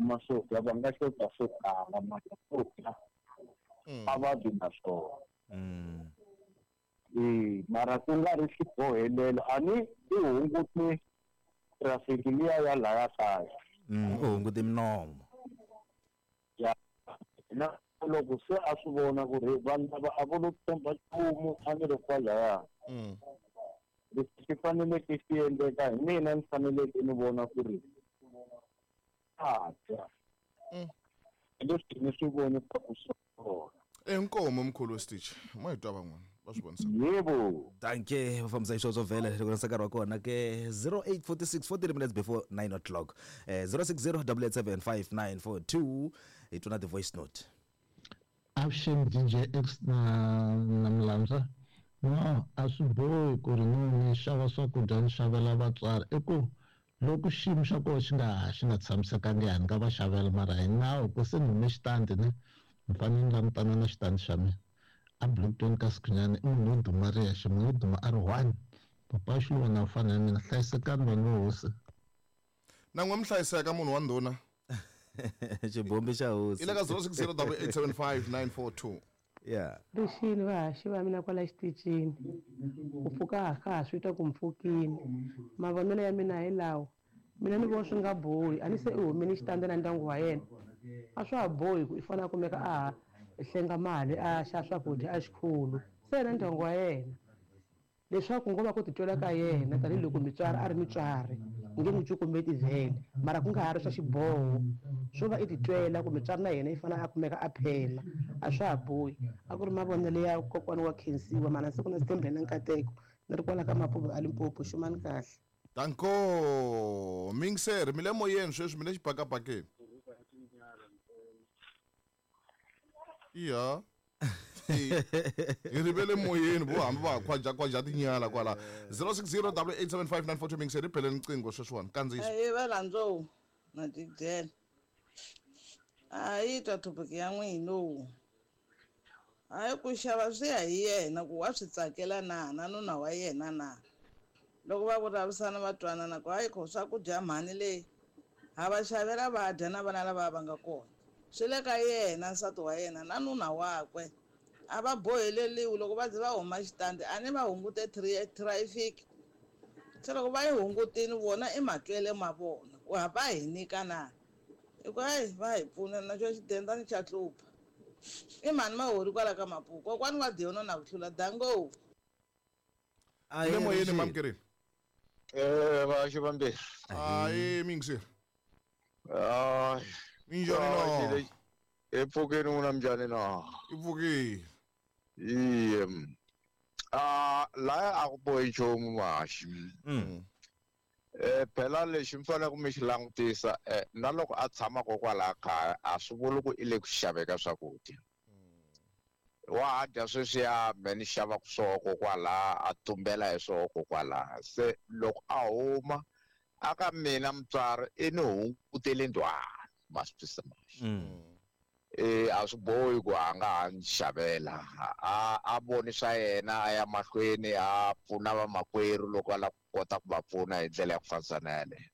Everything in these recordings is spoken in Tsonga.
kuma swo dya va nga xota swo tala mara swo dya a va vi na swona. E mara ku nga ri xibohelelo a ni i hunguti traffic liya ya laya kaya. U hunguti minomo. Ya na loko se a swi vona ku ri vanhu lava a vo lo tshemba nchumu a ni ri kwalaya. Leswi swi faneleke swi endleka hi mina ni faneleke ni vona ku ri a dya. Leswi ni swi voni ku swona. Inkomo mkhulu Stitch. Ma hi twa van'wana va swi vonisa. Yebo. Dankie va fambisa xisweswo vhele loko na nkarhi wa kona ke 08:46 40 minutes before 9 o'clock. 060 887 5942 hi twa na the voice note. Avuxeni DJ X na Mlandza. No, a swi bohi ku ri ni xava swakudya ni xavela vatswari. I ku loko xiyimo xa kona xi nga tshamisekangi ni nga va xavela mara hi nawu ku se ni hume xitandi ne ni fanele ni langutana na xitandi xa mina. A Bloemfontein ka Sikhunyana i munhu wo duma ri yexe, munhu wo duma a ri one. Papa Xiluva na mfana ya mina hlayisekani vanhu va hosi. Na n'we mi hlayiseka munhu wa ndhuna. Xibombi xa hosi. I le ka 060 875 942. Yeah. Rixini vahaxi va mina kwala xitichini. Ku pfuka ka ha swi twa ku mpfukini. Mavonelo ya mina hi lawa. Mina ni vona swi nga bohi. A ni se i humile xitandi na ndyangu wa yena. A swa ha bohi ku i fanele a kumeka a ha hlenga mali a xa swakudya a xikhulu. Se yena ndyangu wa yena. Leswaku ngo va ku titwela ka yena tanihiloko mutswari a ri mutswari nge n'wi cukumeti vhele mara ku nga ha ri swa xiboho swo va i titwela ku mutswari na yena i fanele a kumeka a phela a swa ha bohi. A ku ri mavonelo ya kokwana wa khensiwa mana siku na Sithembile na Nkateko ni ri kwala ka Mapuve a Limpopo xumani kahle. Danko Mingser mi le moyeni sweswi mi le xibakabakeni. Iya. Hi rivele moyeni vo hambi va khwaja tinyala kwala 060 875 942 Mingser ri bele riqingho sweswiwani kandziyiso. Ahee valandzowu na tidyela. A yi twa topic ya n'wina. Hayi ku xava swi ya hi yena ku wa swi tsakela na na nuna wa yena na. Loko va vulavurisana va twanana ku hayi kho swakudya mhani leyi ha va xavela va dya na vana lava va nga kona. Swi le ka yena nsati wa yena na nuna wakwe. A va boheleliwi loko va ze va huma xitandi a ni va hungute traffic. Se loko va yi hungutile vona i matwele ma vona ku ha va hi nyika na. Hi ku hayi va hi pfuna na xo xidendani xa hlupha. I mhani Mahori kwala ka Mapuku. Kokwani wa Diona na ku hlula dango. Le moyeni mamkerini. Vaxi vambirhi. Ayi Mingser. Hayi. Minjhani no? I pfukeni n'wina minjhani na? I pfukile. Iye. Laya a ku bohi nchumu mahaxi. Phela lexi mi faneleke mi xi langutisa na loko a tshama kokwalaha kaya a swi vuli ku i le ku xaveka swakudya. Wa ha dya sweswiya me ni xavaka swoho kokwalaha a tumbela hi swoho kokwalaha. Se loko a huma a ka mina mutswari i ni hungutele ndhwalo ma swi twisisa mahaxi. A swi bohi ku a nga ha ni xavela a voni swa yena a ya mahlweni a pfuna vamakwerhu loko a lava ku kota ku va pfuna hi ndlela ya ku fanisa na yaleyo.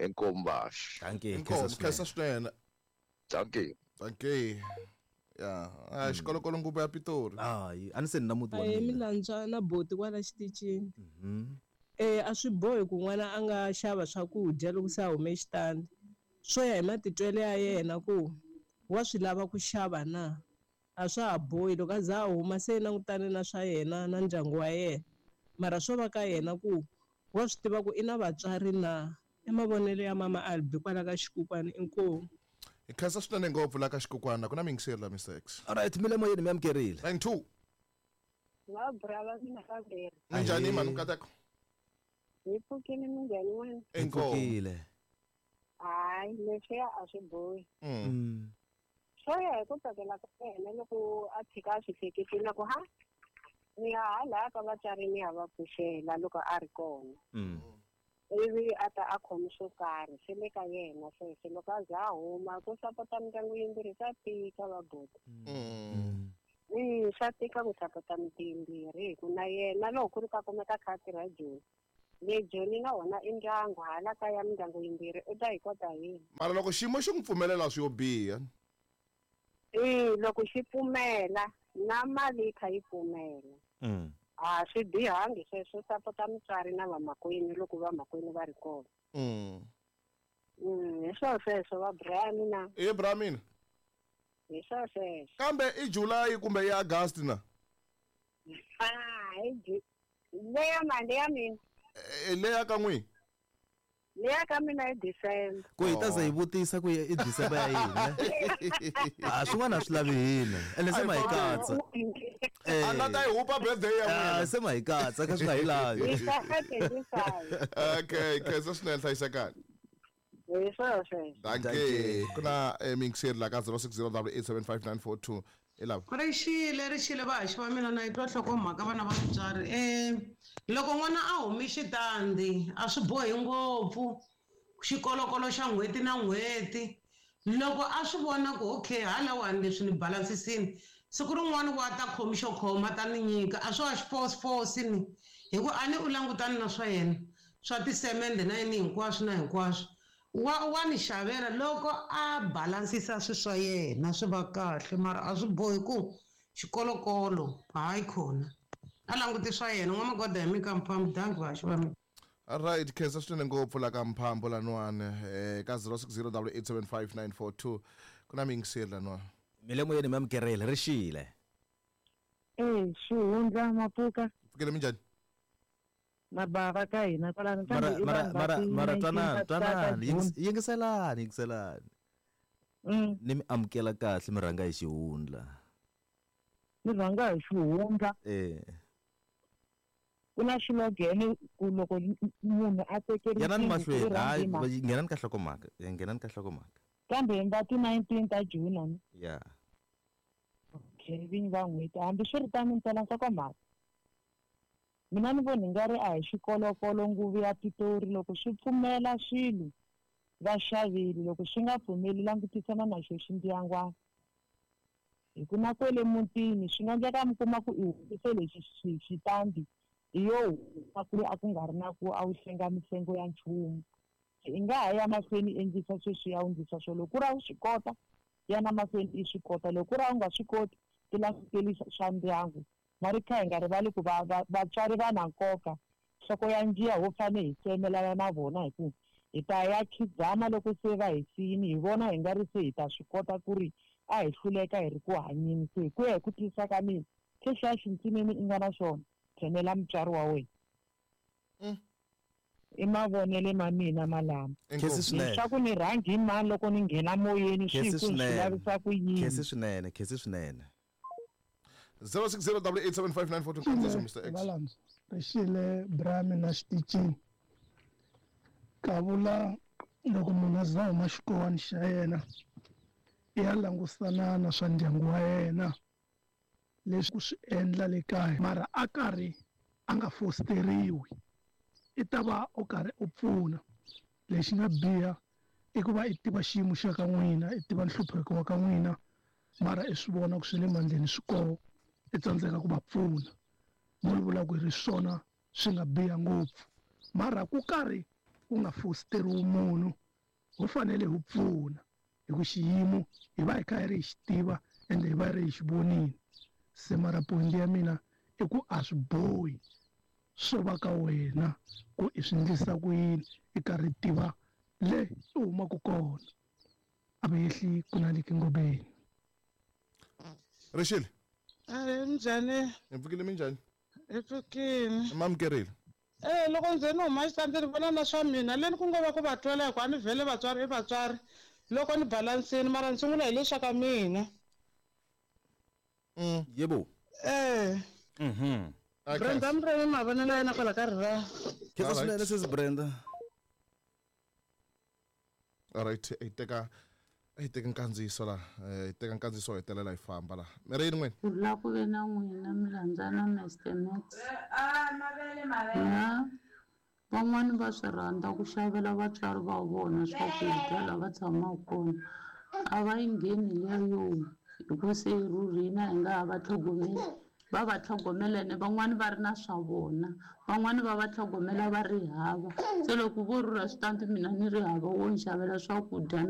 Inkomu vaxi. Dankie. Inkomu khensa swinene. Dankie. Dankie. Ya, a xikolokolo nguvu ya Pitori. Hayi, a ni se ni na muti wa mina. mina. Milandzwa na boti kwala xitichini. A swi bohi ku n'wana a nga xava swakudya loko se a hume xitandi. Swo ya hi matitwelo ya yena ku wa swi lava ku xava na. A swa ha bohi loko a za a huma se langutane na swa yena na ndyangu wa yena. Mara swo va ka yena ku wa swi tiva ku i na vatswari na. I mavonelo ya mama Albi kwala ka Xikukwana inkomu. Hi khensa swinene ngopfu la ka Xikukwana ku na Mingser la Mr X. Alright, mi le moyeni mi amukerile. 92. Va bra va mina vambirhi. Minjhani mhani Nkateko? Hi pfukile minjhani n'wina? Pfukile. Hayi leswiya a swi bohi. Swo ya hi ku tsakela ka yena loko a tshika a swi hleketile ku ha ni ya hala ka vatswari ni ya va pfuxela loko a ri kona. Ivi a ta a khomi swo karhi swi le ka yena sweswo loko a za a huma ku sapota mindyangu yimbirhi swa tika va boti. Swa tika ku sapota miti yimbirhi hi ku na yena loko ku ri ka kumeka kha a tirha Joni. Le Joni na wona i ndyangu hala kaya mindyangu yimbirhi u ta hi kota yini? Mara loko xiyimo xi n'wi pfumelela swi yo biha. Loko xi pfumela na mali yi kha yi pfumela. A swi bihangi sweswo sapota mutswari na vamakwenu loko vamakwenu va ri kona. Hi swo sweswo va Brian na. E Brian. Hi swo sweswo. Kambe i July kumbe i August na? Hi leya mali ya mina. Leya ka n'wi? Leya ka mina i December. Ku hi ta ze hi vutisa ku i December ya yini? A swin'wana a swi lavi hina. Ene se ma hi katsa. A nga ta yi hupa birthday ya n'wina. Se ma hi katsa ka swi nga hi lavi. Okay, khensa swinene hlayisekani. Hi swona sweswo. Dankie. Ku na mingiseri la ka 0608875942. Rixile vahaxi va mina na yi twa nhlokomhaka vana va mutswari. Loko n'wana a humi xitandi a swi bohi ngopfu xikolokolo xa n'hweti na n'hweti. Loko a swi vona ku okay halawani leswi ni balansisini siku rin'wana wa ta khomi xo khoma ta ni nyika a swo a xi force ni hi ku a ni u langutani na swa yena swa tisemende na yini hinkwaswo na hinkwaswo. Wa ni xavela loko a balansisa swi swa yena swi va kahle mara a swi bohi ku xikolokolo hayi khona a languti swa yena n'wamagoda hi mika mphambu danki vaxi va mina. Alright, khensa swinene ngopfu la ka mphambu laniwani ka 0608875942 ku na mingiseri laniwani. Milemoyeni mi amukerile rixile. Xihundla Mapuka. Pfukile minjhani? Mabava ka hina kwalano mara twanani yingiselani ni mi amukela kahle mi rhanga hi xihundla. Mi rhanga hi xihundla. Ku na xilogene ku loko munhu a tekeriwe yanani mahlweni hayi nghenani ka nhlokomhaka kambe hi nga ti 19 ta June. Yeah. Okay, vinyi va n'hweti hambi swi ri tano ni tsala nhlokomhaka. Mina ni vona nga ri a hi xikolokolo nguvu ya Pitori loko swi pfumela swilo va xavile loko swi nga pfumeli langutisana na xo xindyangwana. Hi ku na kwele mutini swi nga endleka mi kuma ku i humise lexi xitandi hi yo huma ku ri a ku nga ri na ku a wu hlenga mihlengo ya nchumu. I nga ha ya mahlweni endlisa sweswi ya wu endlisa swo loko ku ri a wu swi kota yana mahlweni i swi kota loko ku ri a wu nga swi koti ti languteli swa ndyangu. Mari kha hi nga rivali ku vatswari va na nkoka nhloko ya njiya ho fane hi tsemelana na vona hi ku hi ta ya khidzama loko se va hi siyini hi vona hi nga ri se hi ta swi kota ku ri a hi hluleka hi ri ku hanyeni se hi ku ya hi ku twisisa ka mina xexiya xintsinini i nga na xona tshemela mutswari wa wena. I mavonele ma mina malama. Leswaku ni rhangi hi mani loko ni nghena moyeni swi ku swi lavisa ku yini. Khensi swinene. 0608875942 kandziso Mr X. Valandzo rixile Brami na xitichini. Kavula loko munhu a za huma xikowani xa yena i ya langusana na swa ndyangu wa yena leswi ku swi endla le kaya mara a karhi a nga fosteriwi i ta va u karhi u pfuna. Lexi nga biha i ku va i tiva xiyimo xa ka n'wina i tiva nhlupheko wa ka n'wina mara i swi vona ku swi le mandleni swi koho i tsandzeka ku va pfuna. Mo ni vula ku ri swona swi nga biha ngopfu mara ku karhi ku nga fosteriwi munhu ho fanele hi pfuna hi ku xiyimo hi va hi kha hi ri hi xi tiva ende hi va hi ri hi xi vonile. Se mara point ya mina i ku a swi bohi swo va ka wena ku i swi endlisa ku yini i karhi tiva le i humaka kona a va yehli ku na le kingobeni. Rixile. Minjhani? Hi pfukile minjhani? Hi pfukile. Mamukerile. Loko nze ni huma xitandi ni vona na swa mina leni ku ngo va ku va twela hi ku a ni vhele vatswari i vatswari loko ni balansini mara ni sungula hi leswa ka mina. Yebo. Brenda Mremi mavonelo ya yena kwala ka rira. Khensa swinene sesi Brenda. Alright, hi teka nkandziyiso la hi teka nkandziyiso hetelela hi famba la. Mi ri yini n'wina? Ku la ku ve na n'wina mi landzana Mr Max. Van'wani va swi rhandza ku xavela vatswari va vona swakudya laha va tshamaka kona. A va yi ngheni leyo hi ku se rhurhina hi nga ha va tlhogomeli. Va va tlhogomela ene van'wani va ri na swa vona, van'wani va va tlhogomela va ri hava. Se loko vo rhurha switandi mina ni ri hava wo ni xavela swakudya no.